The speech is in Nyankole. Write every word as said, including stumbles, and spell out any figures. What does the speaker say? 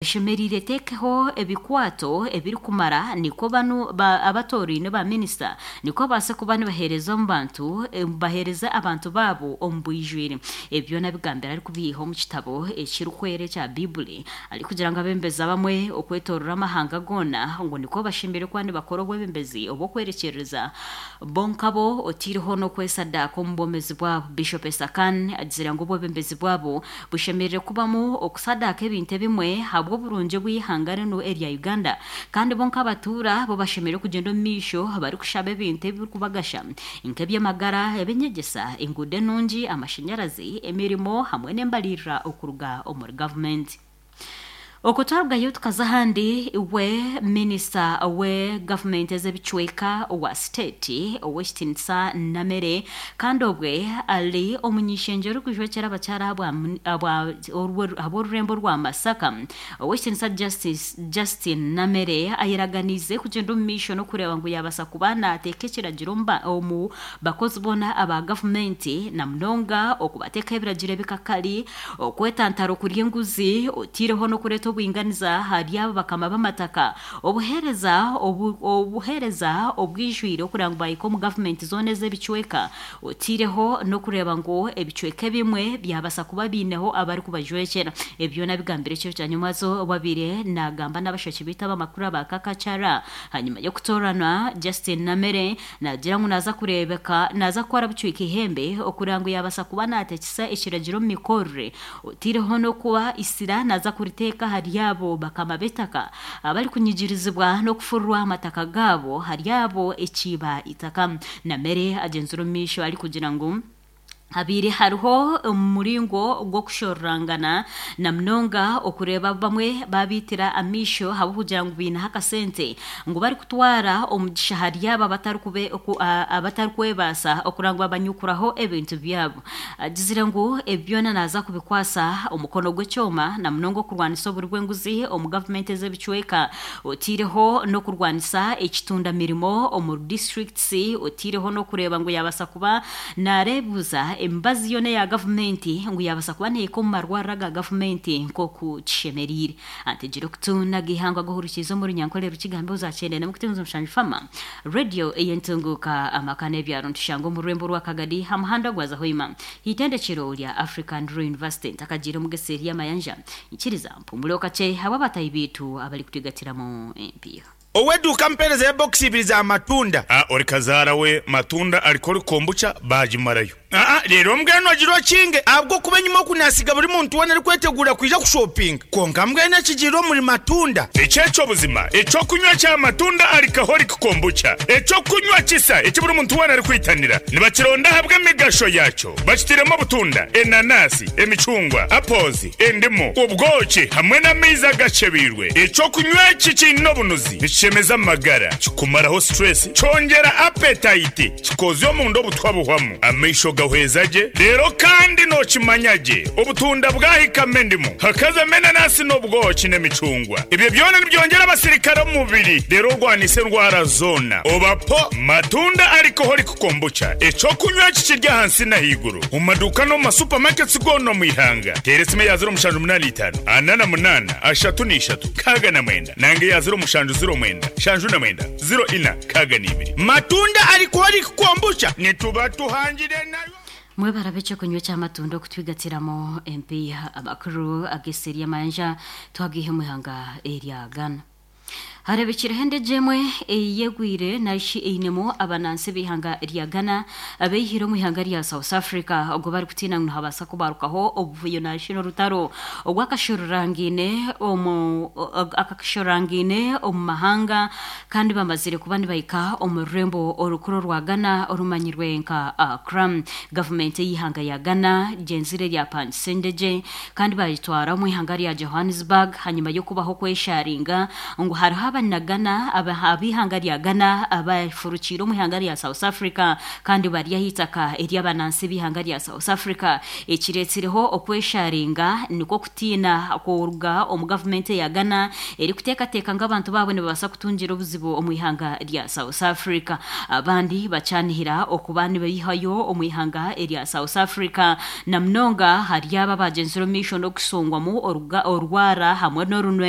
Eshemereire eteekeho ebikwato ebirikumara nikwo banu abatoraine ba minisita nikwo babaase kuba nibaheereza omu bantu baheereze abantu baabo omu bwijwire. Ebi byona abigambire arikubiiha omu kitabo ekirikwera ekya Baibuli arikugira ngu abeebembezi abamwe okwetoorora amahanga goona ngu nikwo bashemereire kuba nibakora obwebembezi obw'okwerekyereza bo nkabo otaireho n'okwesadaaka omu bwomeezi bwabo. Bishop Esakhan agizire ngu obwebembezi bwabo bushemereire kubamu okusadaaka ebintu ebimwe ahabw'oburungi bw'eihanga rinu erya Uganda kandi bo nk'abatuura bo bashemereire kugyenda omu maisho barikushaba ebintu ebirikubagasha nk'eby'amagara, eby'enyegyesa, enguudo enungi, amashanyarazi, emirimo hamwe n'embaririra okuruga omuri gavumenti. Okwo twarugayo tukaza ahandi we minisita we gavumenti ez'ebicweka owa state ow'ekitiinisa Namere kandi obwe ari omuny'ishengyero orikujwekyera abakyara ahabw'orurembo rwa Masaka ow'ekitiinisa Justin Namere ayeraganiize kugyenda omu maisho n'okureeba ngu yabaasa kuba naateeka ekiragiro omu bakozi boona aba gavumenti na munonga okubateekaho ebiragiro ebikakari, okwetantara okurya enguzi otaireho n'okureeta obwinganiza ahari abo bakama b'amataka, obuheereza obuheereza obwijwire okureba ngu bahika omu gavumenti zoona ez'ebicweka otaireho n'okureeba ngu ebicweka ebimwe byabaasa kuba biineho abarikubajwekyera. Ebi byona abigambire ekiro kya nyomwazo obu abaire naagamba n'abashaki baitu ab'amakuru aba Kakakyara hanyuma y'okutoorana Justin Namere naagira ngu naaza kureebeka naaza kukora bucwika ihembe okureba ngu yabaasa kuba naateekesa ekiragiro omu mikorere otaireho n'okuba isira naaza kuriteeka ahari abo bakama b'eitaka abarikunyigirizibwa n'okufururwa amataka gaabo hari abo ekiiba itaka. Namere agyenzire omu maisho arikugira ngu habaire hariho omuringo gw'okushororangana na munonga okureeba bamwe babiitira amaisho ahabw'okugira ngu baineho akasente ngu barikutwara omugisha ahari abo abatarikwebaasa okureba ngu babanyukuraho ebintu byabo. Agizire ngu ebi byona naaza kubikwasa omukono gw'ekyoma na munonga okurwanisa oburi bw'enguzi omu gavumenti ez'ebicweka otaireho n'okurwanisa ekitunda mirimo omu disiturikiti otaireho n'okureeba ngu yabaasa kuba naareebuuza emibazi yoona eya gavumenti ngu yabaasa kuba neehika omu marwariro aga gavumenti nk'oku kishemereire. Antegire okutu n'agaihangwe ag'ohurikiize omu Runyankore Rukigambo ozakyenda namukutunza omushanju Fama Radio ey'entunguuka amaka n'ebyaro nitushanga omu rurembo rwa Kagadi aha muhanda gwaza Hoima eitendekero rya African Rural University ntakagiire omu Geseeri y'amayanja ikiriza mpumureho kakye ahabw'abatahi baitu abarikutwigatiramu empiiha. Ow'eduuka mpeereza ya bokisi ibiri za matunda. A Ori kazaara we matunda alcoholic kombucha baagimarayo. Aa Reero mbwenu ogira okinge ahabw'okuba enyima oku naasiga buri muntu weena arikweteguura kwija kushopinga. Kwonka mbwenu ekigiire omuri matunda. Eki eky'obuzima, eky'okunywa kya matunda alcoholic kombucha, eky'okunywa kisa eki buri muntu weena arikwitanira. Nibakironda ahabw'emigasho yaakyo. Bakitairemu obutunda, enanasi, emicungwa, apples, endimu, obwoki hamwe n'amaizi agakyebeirwe. Eky'okunywa eki kiine obunuzi, nikishemeza amagara, kikumaraho stress, kyongyera appetite, kikozya omunda obutwa buhwamu, amaisho gahweza gye, reero kandi nookimanya gye obutunda bwahikamu endimu, hakazamu enanasi n'obwoki n'emicungwa. Ebyo byona nibyongyera abasirikare omu mubiri reero orwanise endwara zoona. Oba po Matunda Alcoholic Kombucha, eky'okunywa eki kiri ahansi n'ahaiguru omu maduuka n'omu ma supermarkets goona omu ihanga. Teera esimu eya ziro mushanju munaana itaano, ana na munaana, ashatu na ishatu, nkaaga na mwenda nanga eya ziro mushanju ziro mwenda, nshanju na mwenda, ziro ina, nkaaga na ibiri. Matunda Alcoholic Kombucha nituba tuhangire nayo. Mwebare eky'okunywa eky'amatunda okutwigatiramu empiiha. Amakuru ag'eseri y'amayanja twagiiha omu ihanga erya Ghana. Hareebekireho endegye emwe eyegwire narishi einemu abanansi b'eihanga rya Ghana abeihire omu ihanga rya South Africa ogwo barikutiina ngu nihabaasa kubarukaho obuvuyo narishi n'orutaro ogwakashororangaine omu akakashororangaine omu mahanga kandi bamazire kuba nibahika omu rurembo orukuru orwa Ghana orumanyirwe nka Accra. Gavumenti ey'eihanga ya Ghana gyenzire ryapangisa endegye kandi bagitwara omu ihanga rya Johannesburg hanyuma y'okubaho okwesharinga ngu hariho abanyagana ab'ihanga rya Ghana abafurukiire omu ihanga rya South Africa kandi bari ah'itaka ery'abanansi b'ihanga rya South Africa. Ekireetsireho okwesharinga nikwo kutiina kuruga omu gavumenti eya Ghana erikuteekateeka ngu abantu baabo nibabaasa kutungira obuzibu omu ihanga rya South Africa. Abandi bakyanihira okuba nibaihayo omu ihanga erya South Africa, na munonga hari abo abagyenzire omu maisho n'okushongwamu orwara hamwe n'orunwe.